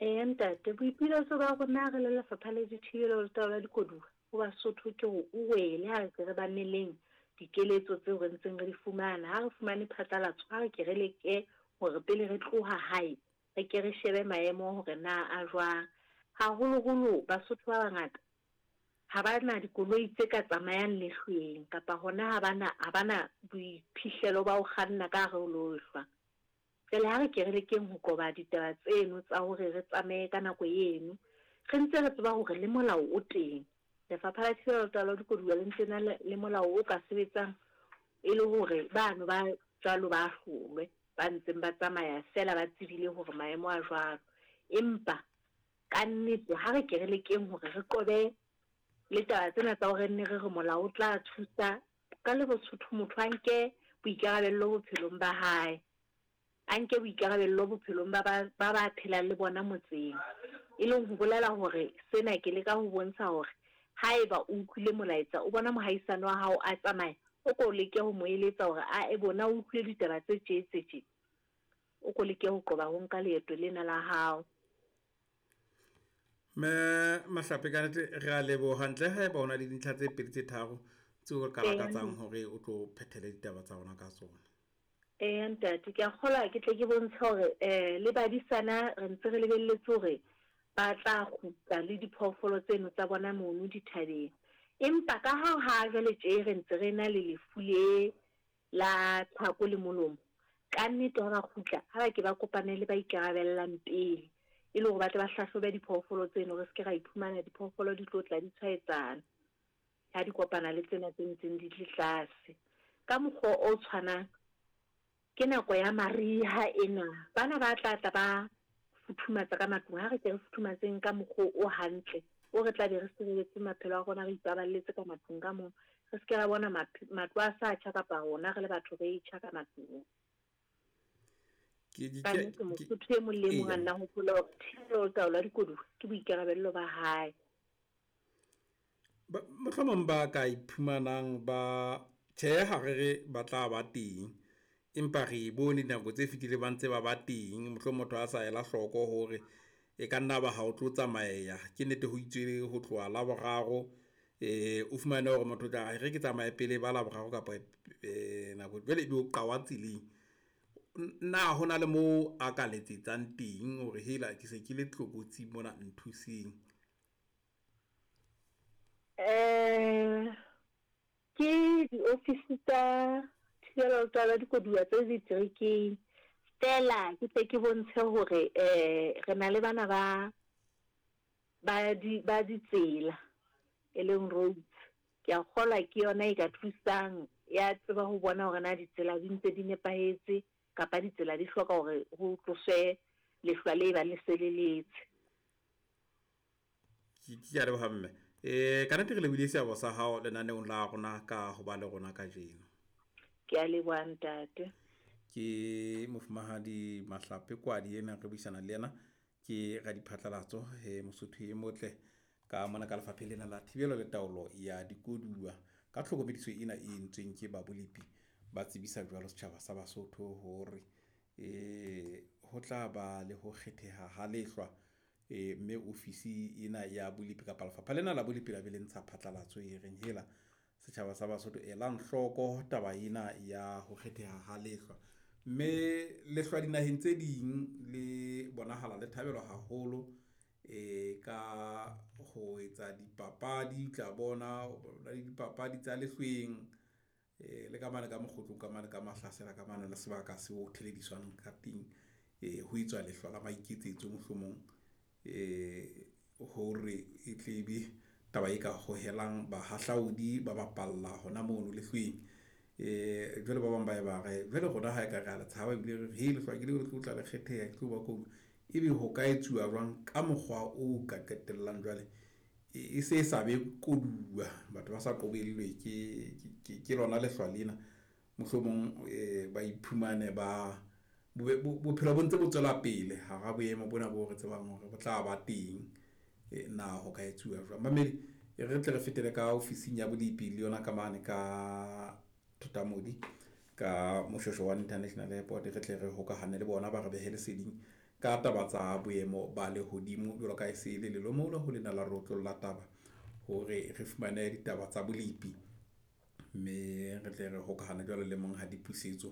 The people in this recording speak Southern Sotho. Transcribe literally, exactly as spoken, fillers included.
Eya ntate, boipiletso ba rona re le Lefapha la Dithibelo le Taolo ya Dikoduwa ho Basotho ke hore o wele ha re ke re mameleng dikeletso tseo re ntseng re di fumana. Ha re fumane phatlalatso, ha re ke re leke hore pele re tloha hae, re ke re shebe maemo hore na a jwang. Haholoholo Basotho ba bangata ha ba na dikoloi tse ka tsamayang lehlweng kapa hona ha ba na ha ba na boiphihlelo ba ho kganna ka hare ho lehlwa. Jwale ha re ke re lekeng ho qoba ditaba tseno tsa hore re tsamaye ka nako eno, re ntse re tseba hore le molao o teng. Lefapha la Thibelo le Taolo ya Dikoduwa le ntse na le molao o ka sebetsang e le hore bano ba jwalo ba hlolwe, ba ntseng ba tsamaya feela ba tsebile hore maemo a jwalo. Empa ka nnete ha re ke re lekeng hore re qobe le taba tsena tsa hore nne re re molao o tla thusa ka le Bosotho, motho a nke boikarabello bophelong ba hae, a nke boikarabello bophelong ba ba ba ba phelang le bona motseng. E leng ho bolela hore sena ke leka ho bontsha hore haeba o utlwile molaetsa, o bona mohaisane wa hao a tsamaya, o ko leke ho mo eletsa hore a e bona o utlwile ditaba tse tje tse tje, o ko leke ho qoba ho nka leeto lena la hao. Mme Mahlape, ka nnete re a leboha. Ntle haeba o na le dintlha tse pedi tse tharo tseo re ka lakatsang hore o tlo phethele ditaba tsa rona ka tsona. Eya ntate, ke a kgolwa ke tle ke bontshe hore eh le badisana re ntse re lebelletse hore ba tla kgutla le diphoofolo tseno tsa bona mono dithabeng. Empa ka ha ha jwale tje re ntse re na le lefu le la tlhako le molomo, ka nnete ha ba kgutla ha ba ke ba kopane le ba ikarabellang pele, e le hore ba tle ba hlahlobe diphoofolo tseno, re se ke ra iphumana diphoofolo di tlo tla di tshwaetsana ha di kopana le tsena tse ntseng di tle tlase. Ka mokgwa o tshwanang, ke nako ya mariha ena, bana ba tla tla ba futhumatsa ka matlung. Ha re ke re futhumatseng ka mokgwa o hantle, o re tla be re sireletse maphelo a rona, re ipaballetse ka matlung ka moo, re se ke ra bona matlo a sa tjha kapa rona re le batho re tjha ka matlung. Ke Ka nnete Mosotho e mong le e mong a nna hopola hore thibelo le taolo ya dikoduwa ke boikarabello ba hae. Mohlomong ba ka iphumanang ba tjhe, ha re re ba tla ba teng, empa re bone dinako tse fetileng ba ntse ba ba teng. Mohlomong motho a sa ela hloko hore e ka nna ba ha o tlo tsamaeya. Ke nnete ho itswe ho tloha Laboraro, eh o fumane hore motho o tla re ke tsamaye pele ba Laboraro kapa eh nako jwale ebe o qawa tseleng. Na ho na le moo a ka letsetsang teng hore hela ke se ke le tlokotsing mona, nthuseng? Eh ke diofisi tsa thibelo le taolo ya dikoduwa tse diterekeng. Feela ke tle ke bontshe hore eh re na le bana ba ba di ba ditsela, e leng roads. Ke a kgolwa ke yona e ka thusang ya tseba ho bona hore na ditsela di ntse di nepahetse kapa ditsela di hloka hore ho tloswe lehlwa le bang le se le letse. Ke a leboha mme. Eh ka nnete re lebohile seabo sa hao lenaneong la rona ka ho ba le rona kajeno. Ke a leboha ntate. Ke mofumahadi Mahlape Kwadi ena re buisana le yena, ke radiphatlalatso he Mosotho e motle ka mona ka lefapheng lena la thibelo le taolo ya dikoduwa. Ka tlhokomediso ena e entsweng ke ba bolepi, ba tsebisa jwalo setjhaba sa Basotho hore eh ho tla ba le ho kgetheha ha lehlwa, eh mme ofisi ena ya bolepi kapa lefapha lena la bolepi la be le ntsha phatlalatso e reng hela setjhaba sa Basotho elang hloko taba ena ya ho kgetheha ha lehlwa. Mme lehlwa dinaheng tse ding le bonahala le thabelwa haholo eh ka ho etsa dipapadi, tla bona le dipapadi tsa lehlweng, eh le ka mane ka mokgotlong ka mane ka mahlasela ka mane le sebaka seo thelediswang ka teng, eh ho etswa lehlwa la maiketsetso mohlomong, eh hore e tle be taba e ka hohelang bahahlaodi ba bapalla hona mono lehlweng. Eh jwale ba bang ba e ba re jwale rona ha e ka re a le tshaba ebile re he lehlwa ke le tlo tla le kgetheha, ke tlo ba ko ebe ho ka etsuwa jwang ka mokgwa o ka qetellang jwale e se sa be koduwa, batho ba sa qobellwe ke ke lona lehlwa lena, mohlomong eh ba iphumane ba bophelo bo ntse bo tswela pele hara boemo bona bo re tsebang hore bo tla ba teng. Na ho ka etsuwa jwang? Mamedi, re tle re fetele ka ofising ya bolepi le yona ka mane ka Thotamodi ka Moshoeshoe wa International Airport, re tle re hokahane le bona ba re behe leseding ka taba tsa boemo ba lehodimo jwalo ka e se le lelomolo ho lena la rotlolla taba hore re fumane ditaba tsa bolepi, mme re tle re hokahane jwalo le Monghadi Pusetso.